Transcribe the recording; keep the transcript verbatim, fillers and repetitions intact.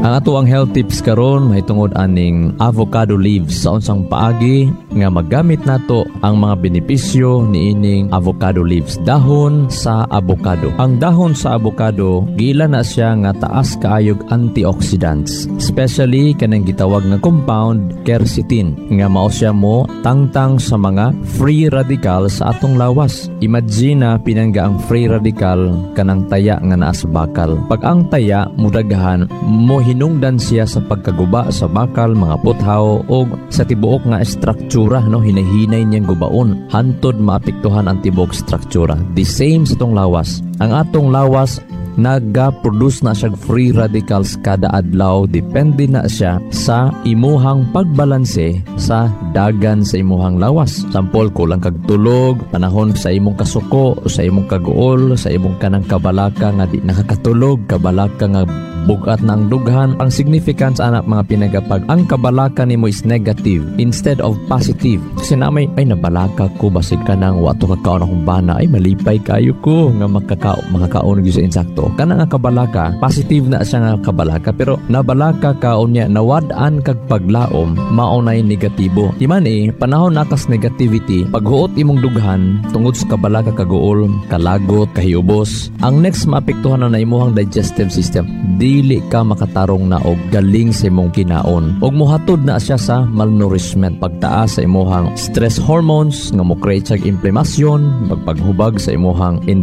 Ang atoang health tips karon mahitungod aning avocado leaves, sa unsang paagi nga magamit nato ang mga benepisyo niining avocado leaves, dahon sa avocado. Ang dahon sa avocado, giila na siya nga taas kaayog antioxidants, especially kanang gitawag nga compound quercetin nga mao siya mo tangtang sa mga free radical sa atong lawas. Imagine na, pinangga, ang free radical kanang taya nga naa sa bakal. Pag ang taya mudaghan, mo hinungdan siya sa pagkaguba sa bakal, mga puthaw o sa tibuok nga estruktura, no? Hinahinay niyang gubaon hantod maapektuhan ang tibuok struktura. The same sa atong lawas. Ang atong lawas, naga-produce na siya free radicals kada adlaw. Depende na siya sa imuhang pagbalanse sa dagan sa imuhang lawas. Sample, kulang kag tulog, panahon sa imong kasuko, sa imong kaguol, sa imong kanang kabalaka nga di nakakatulog, kabalaka nga bugat na ang dughan. Ang significance ana, mga pinangga, pag ang kabalaka nimo is negative instead of positive. Kasi na may, "Ay, nabalaka ko, basig ka nang wato kakaon akong bana, ay, malipay kayo ko nga makakao makakaon gyud sa insakto." Kana nga kabalaka, positive na siya nga kabalaka. Pero nabalaka ka unya nawad-an kag paglaom, mao nay negatibo. Di man eh, panahon na kas negativity, paghuot imong dughan tungod sa kabalaka, kaguol, kalagot, kahiubos, ang next maapektuhan na na imuhang digestive system. Dili ka makatarong na og galing sa imong kinaon. Og mohatod na siya sa malnourishment, pagtaas sa imuhang stress hormones nga mo create siya inflamasyon, pagpaghubag sa imuhang